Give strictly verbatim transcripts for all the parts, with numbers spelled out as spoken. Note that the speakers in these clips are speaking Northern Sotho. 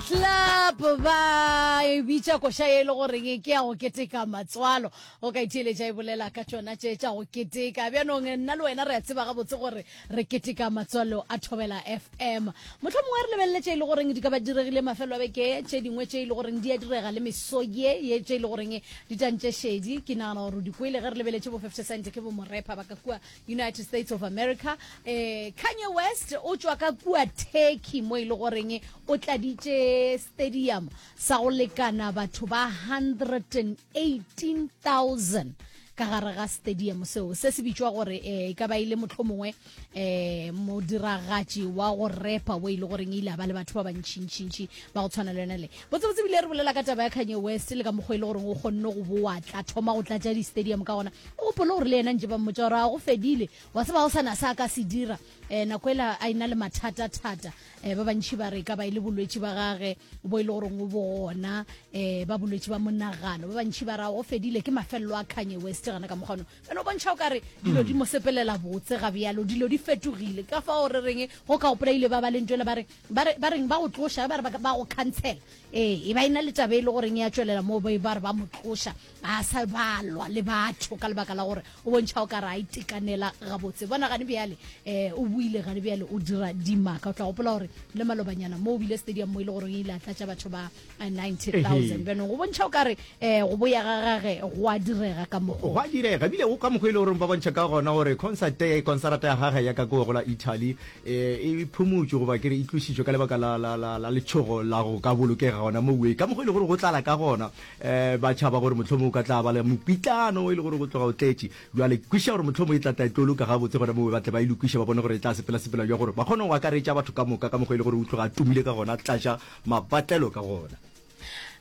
Club ba e bitša koša e le goreng ke ya go keteka matswalo. O ka itheeletša e bolela ka tšona tše tša go keteka. Bjanong nna le wena re a tseba gabotse gore re keteka matswalo a Thobela F M. Mohlomongwe re lebelele tše e le goreng di ka ba diregile mafelo a beke, tše dingwe tše e le goreng di a direga le meso ye ye tše e le goreng di tantše šedi. Ke nagana gore o di kwele ge re lebeletše bo fifty Cent, ke bo morepa ba ka kua United States of America. um Kanye West o tšwa ka kua Turkey mo e le goreng o tladitše stadium sa go lekana batho ba one hundred and eighteen thousand ka gare ga stadium seo. Se se bitšwa gore um e ka ba ile mohlomongwe um modiragatši wa go repa o e le goreng ile a ba le batho ba bantšhintšhintšhi ba go tshwana le yona. Le botsebotse bile re bolela ka taba ya Kanye West le ka mokgwa e le goreng o kgonne go boa tla thoma go tlatša di-stadium ka gona. O gopole gore le yena ntše ba mmotša gore a go fedile, wa tseba, go sana sa ka se dira um nako ela a ena le mathata-thata. um ba bantšhi ba re ka ba e le bolwetši ba gage bo e le goreng o bo gona, um ba bolwetši ba monagano. Ba bantšhi ba ra go fedile, ke mafelelo a Kanye West gana ka mokgwano. Ene o bontšha o kare dilo di mo sepelela botse ga bjalo, dilo di fetogile ka fao re reng go ka gopola ile ba ba le ntwele ba re ba re ba reng ba go tloša, ba re ba ba go cancela. Ee, e ba ena le taba e le goreng ya tšwelela moo ba ba re ba mo tloša, a sa balwa le batho ka lebaka la gore o bontšha o ka re a itekanela gabotse. Bona gane bjale um o buile, gane bjale o dira dimaka. O tla gopola gore le malobanyana mo o bile stadium mo e le goreng e ile a tlatša batho ba ninety thousand. Bjanong go bontšha o ka re um go boya ga gage go a direga ka mokgwa. Go a direga ebile go ka mokgwa e le goreng ba bontšha ka gona gore concert concerta ya gage ya ka ko go la Italy e phumotšwe, goba ke re e tlošitšwe ka lebaka la, la, la, la letšhogo la go ka bolokega gona mowe, ka mokgwa e le gore go tlala ka gona. um ba tšhaba gore mohlomongwe o ka tla ba le mopitlano e le gore go tloga o tletše. Jwale kwešiša gore mohlomongwe e tla tla e tlo loka gabotse gona mowe, ba tle ba e lokiše, ba bone gore e tla sepela-sepela jwa gore ba kgone go akaretša batho ka moka ka mokgwa e le gore o tloga a tumile ka gona, tlatša mapatlelo ka gona.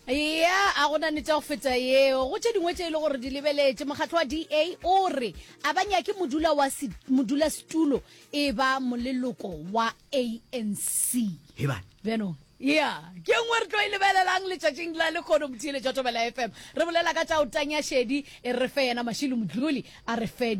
Ya, a gona nete ya go feta yeo. Go tše dingwe tše e le gore di lebeletše, mokgatlo wa D A o re a ba nyake modula wa modulasetulo e ba moleloko wa A N C. Hebane. Bjanong ya ke nngwe re tlo e lebelelang letšatšing la lekgono. Motheeletša Thobela F M, re bolela ka tša o tanya šedi, e re fe yena Mašilo Modluli a re fe.